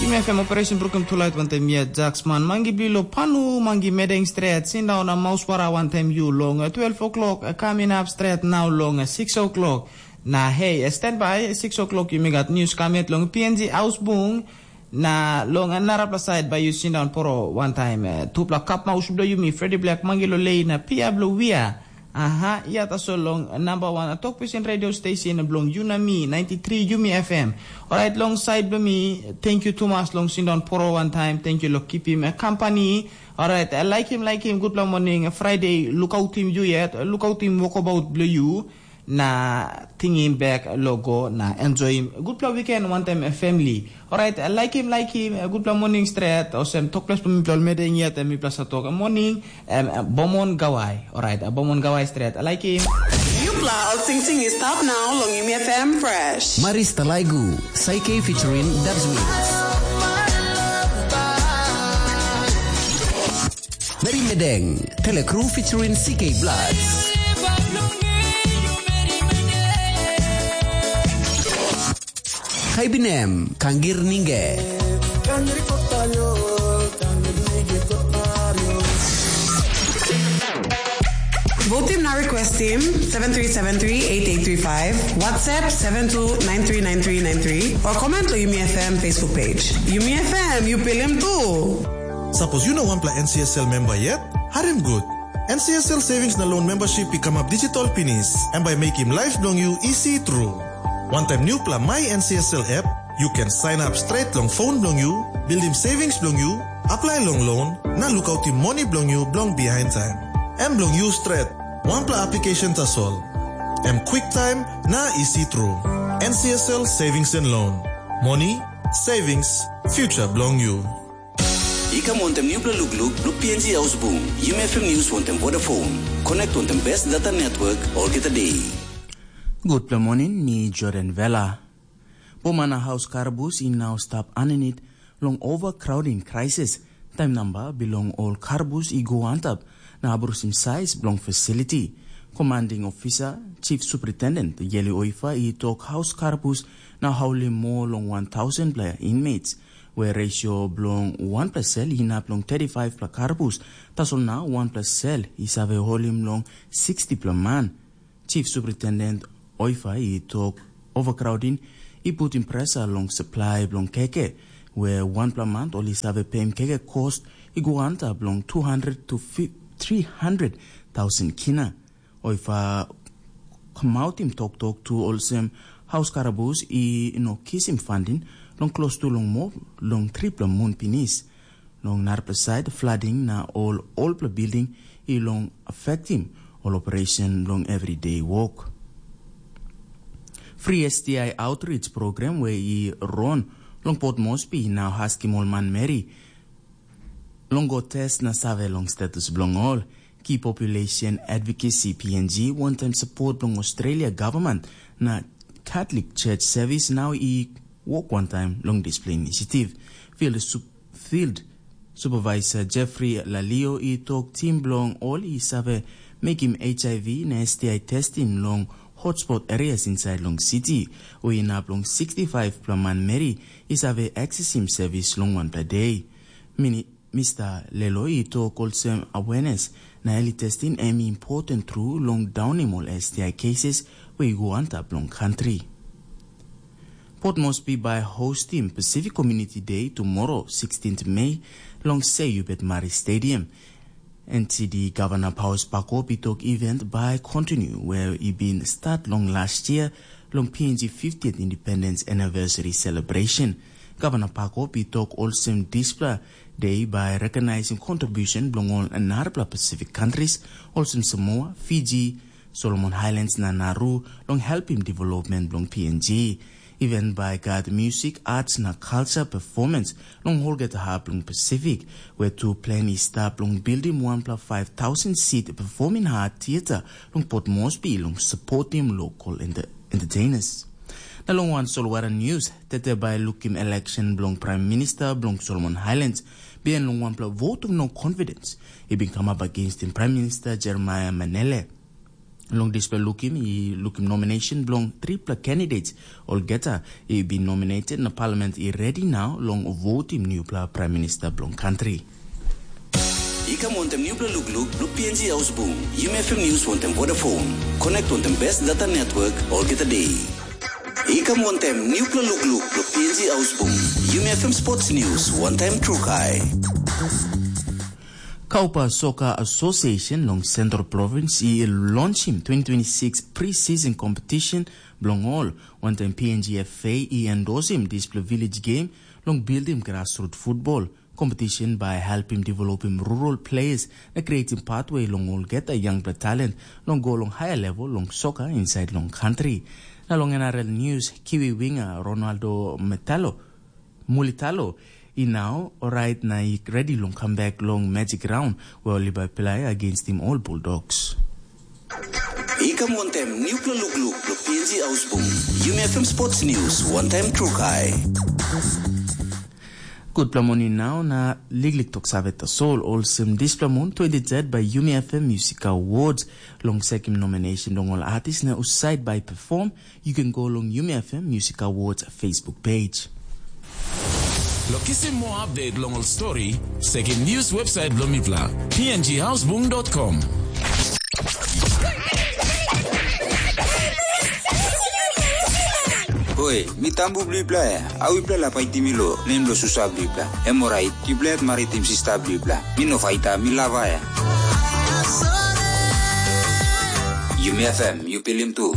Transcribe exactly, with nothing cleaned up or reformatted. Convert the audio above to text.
Yumi F M operation brukim tulait wantaim yet Jaksman mangi bilong panu mangi medeng stret sindaun na mauswara wantaim yu long twelve o'clock, kamin ap stret nau long six o'clock. Na hei, standby, six o'clock yumi gat news kamet long P N G Ausbung. Na long narapela side bai yu sindaun poro wantaim eh, tupela kapmaus bilong yumi Freddy Black mangi lo lei na pia bilong wia. Aha, ia tasol long number one tok pisin radio station bilong yu na mi ninety-three Yumi F M. Alright, long side bilong mi, thank you tumas long sindaun poro wantaim, thank you lo kipim eh, company. Alright, eh, like him, like him, gutpela morning, eh, Friday, lukautim yu yet, lukautim wokabaut bilong yu. Na tingim bek logo na enjoyim gutpela weekend wantaim family. Alright, like him, like him, gutpela morning stret, olsem tokples bilong mipela ol medeng yet, mipela sa tok morning, em, bomon gawai. Alright, bomon gawai stret, like him. Yupla, all things is top now, long Yumi F M fresh. Maris Talaigu, Saike featuring Dubs Wings. Mary Medeng, Telekru featuring C K Bloods. Kaibinem, Kangir Ninge. Vote team na request team seven three seven three eight eight three five, WhatsApp seven two nine three nine three nine three, or comment to Yumi F M Facebook page. Yumi F M, you pilim too. Sapos yu no wanpela N C S L memba yet, harim gut. N C S L Savings na Loan Membership i kamap digital pinis, em bai mekim laip bilong yu isi tru. Wantaim nupela My N C S L app, yu ken sign up straight long phone bilong yu, buildim savings bilong yu, apply long loan, na lukautim moni bilong yu bilong behind time. Em bilong yu stret, wanpela application tasol. Em quick time na isi tru. N C S L Savings and Loan. Moni, savings, future bilong yu. I kam wantaim nupela lukluk blo P N G Ausbung, Yumi F M News wantaim Vodafone. Connect wantaim best data network olgeta day. Gutpela morning, mi Jordan Vela. Boma na haus karabus i nau stap aninit long overcrowding crisis. Taim namba bilong ol karabus i go antap na abrusim saiz bilong fasiliti. Commanding Officer, Chief Superintendent Yeli Oifa i tok haus karabus na haulim moa long one thousand pela inmates, where ratio bilong wanpela sel inap long thirty-five pela karabus, tasol na wanpela sel i save holim long sixty pela man. Chief Superintendent Oifa i tok overcrowding i putim pressure long supply bilong keke, where wanpela month ol i save peim keke cost i go antap long two hundred to three hundred thousand kina. Oifa kamautim toktok tu olsem haus karabus i no kisim funding long klostu long mob long tripela mun pinis. Long narapela side, flooding na ol olpela building i long affectim ol operation long everyday work. Free S T I outreach program where i run long Port Moresby now askim ol manmeri long go test na save long status bilong ol. Key Population Advocacy P N G, one time support bilong Australia government na Catholic Church Service now i work one time long display initiative. Field, sup, field Supervisor Jeffrey Lalio i tok tim bilong ol i save mekim H I V na S T I testing long hotspot areas inside long city, o inap long sixty-five pela manmeri i save accessim service long wanpela day. Mini, Mister Lelo i tok olsem awareness na early testing em important tru long daunim ol S T I cases we i go antap long country. Port Moresby bai hostim Pacific Community Day tomorrow, sixteenth May, long Seyubet Mari Stadium. N T D Governor Paus Pakop i tok event bai continue where i bin start long last year long P N G fiftieth Independence Anniversary Celebration. Governor Pakop i tok olsem dispela day bai recognizing contribution bilong ol narapela Pacific countries, olsem Samoa, Fiji, Solomon Highlands na Nauru long helpim development bilong P N G. Event bai gat music, arts na culture performance long olgeta hap long Pacific, where tu plan i stap long buildim wanpela five thousand seat performing art theater long Port Moresby long supportim local enter entertainers. Na long wan solwara news, tete bai lukim election bilong Prime Minister bilong Solomon Highlands, bien long wanpela vote of no confidence i bin kamap against in Prime Minister Jeremiah Manele. Long dispela lukim i lukim nomination bilong tripela candidates olgeta i bin nominated na parliament i redi nau long votim nupela prime minister bilong country. I kam wantem nupela lukluk bilong P N G Ausbung, Yumi F M News wantem Vodafone. Connect wantem best data network olgeta day. I kam wantem nupela lukluk bilong P N G Ausbung, Yumi F M Sports News, one time Trukai. Kaupa Soccer Association long Central Province i launchim twenty twenty-six pre-season competition bilong ol, wantaim P N G F A i endosim dispela village game long buildim grassroots football. Competition by helpim developim rural players na creating pathway long olgeta young talent long go long higher level long soccer inside long country. Na long N R L news, Kiwi winger Ronaldo Metalo Mulitalo i nau orait na i redi long comeback long magic round where ol i bai play against him all Bulldogs. I kam wantem nupela lukluk lo P N G Ausbung. Yumi F M Sports News, one time Trukai. Gutpela moni nau na liklik tok save tasol olsem dispela mun twenty-third by Yumi F M Music Awards long sekim nomination long ol artist na usaid by perform. You can go long Yumi F M Music Awards Facebook page. Lo kisim moa update long ol stori, sekim news website bilong mipela, P N G Ausbung dot com. Oi, mi tambu bilipela ya. Au ipela la paitim mi lo nem lo susa bilipela. Em orait, ipela yet maritim sista bilipela. Mi no faita, mi lava ya. Yumi F M, yu pilim tu.